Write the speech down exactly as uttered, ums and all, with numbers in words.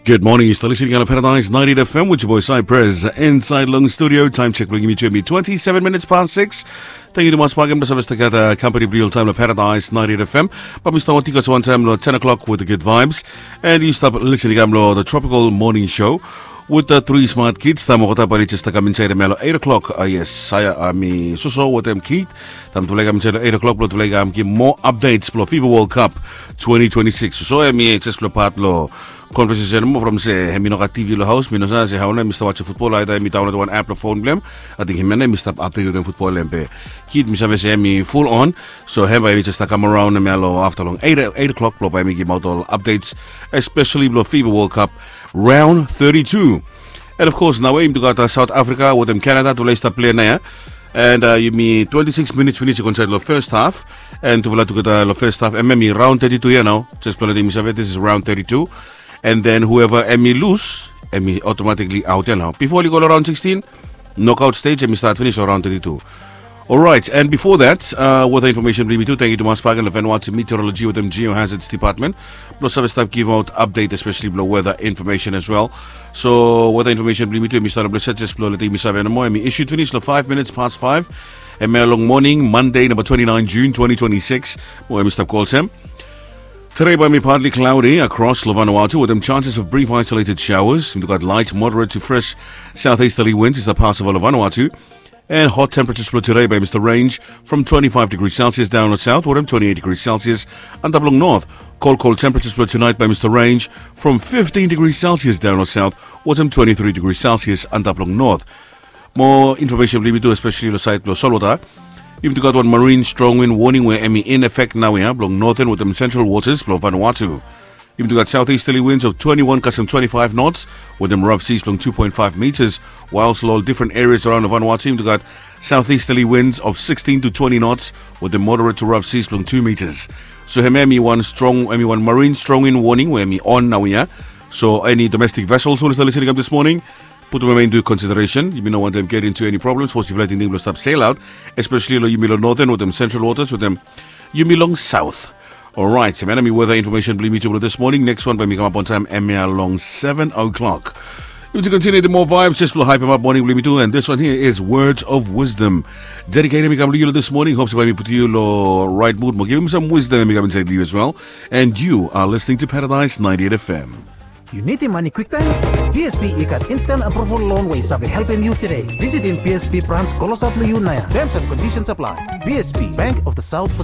Good morning, yu stap listening long Paradise ninety-eight F M with your boy Cypress inside long studio. Time check blong yumi tu hemi twenty-seven minutes past six. Tangkiu tumas bakegen blong save stap gat kampani blong yu oltaem long Paradise ninety-eight F M. Bae mi stap wantaem yu gat wan taem long ten o'clock with the good vibes. And yu stap listening long the Tropical Morning Show with the three smart kids. Taem olgeta bae oli jes stap kam insaed hemia long eight o'clock. Ah, yes, Saya, ah, hemi soso wetem Keith. Taem tufala i kam insaed long eight o'clock blong tufala i kam givim moa updates blong FIFA World Cup twenty twenty-six. Soso hemi jes blong pat blong conversation mo from se hemi no gat T V long haos, mi no save se hao nao hemi stap wajem futbol, aeda hemi daonlod wan app long fon blong hem. Ating hemia nao hemi stap update wetem futbol blong hem be Keith mi save se hemi full on. So hem bae hemi jes stap kam araon hemia long afta long eight, eight o'clock blong bae hemi givimaot ol updates, especially blong FIFA World Cup round thirty-two. And of course naoia yumi tu gat South Africa wetem Canada, tufala i stap plei naoia. And yumi twenty-six minutes finis i go insaed long first half. And tufala tugeta long first half, hemia hemi round thirty-two ia nao. Jes blong letem yumi save, this is round thirty-two. And then whoever hemi lus, hemi automatically out ia nao. Bifo oli go long round sixteen, knockout stage hemi stat finis long round thirty-two. Alright, and before that, uh, weather information blong yumi tu. Tangkiu tumas bakegen long Vanuatu Meteorology wetem Geohazards Department blong save stap givimaot update, especially blong weather information as well. So weather information blong yumi tu hemi stap long blong set, jes blong letem yumi save nomo, hemi issued finis long five minutes past five hemia long moning Monday, namba twenty-nine June twenty twenty-six. Mo hemi stap go olsem: Today bae hemi partly cloudy across long Vanuatu wetem chances of brief isolated showers. Yumi tu gat light, moderate to fresh southeasterly winds i stap pasova long Vanuatu. And hot temperatures blong today bae hemi stap range from twenty-five degrees Celsius daon long south wetem twenty-eight degrees Celsius antap long north. Kol kol temperatures blong tonight bae hemi stap range from fifteen degrees Celsius daon long south wetem twenty-three degrees Celsius antap long north. Moa information blong yumi tu, especially long saed blong solwota. Yumi tu gat wan marine strong wind warning we hemi in effect naoia blong northern wetem central waters blong Vanuatu. Yumi tu gat southeasterly winds of twenty-one kasem twenty-five knots wetem rough seas blong two point five meters. Whilst long ol different areas araon long Vanuatu yumi tu gat southeasterly winds of sixteen to twenty knots wetem moderate to rough seas blong two meters. So hemia hemi wan strong, hemi wan marine strong wind warning we hemi on naoia. So eni domestic vessels we oli stap listening kam this morning, putum hemia into consideration. Yumi no wantem get into eni problem sapos yufala i tingting blong stap sail aot, especially long yumi long northern wetem central waters wetem yumi long south. Alright, hemia nao hemi weather information blong yumi tu blong this morning. Next wan bae hemi kamap on time hemia long seven o'clock. Yumi tu continue the more vibes, jes blong hypem ap moning blong yumi tu. And this one here is Words of Wisdom. Dedicated hemi kam long yu long this morning. Hope se bae hemi putum yu long right mood mo givim sam wisdom hemi kam insaed long yu as well. And you are listening to Paradise ninety-eight F M. Yu nidim mane kwiktaem? B S B i gat instant approval loan we i save helpem yu today. Visitim B S B branch klosap long yu naoia. Terms and conditions apply. B S B, Bank of the South Pacific.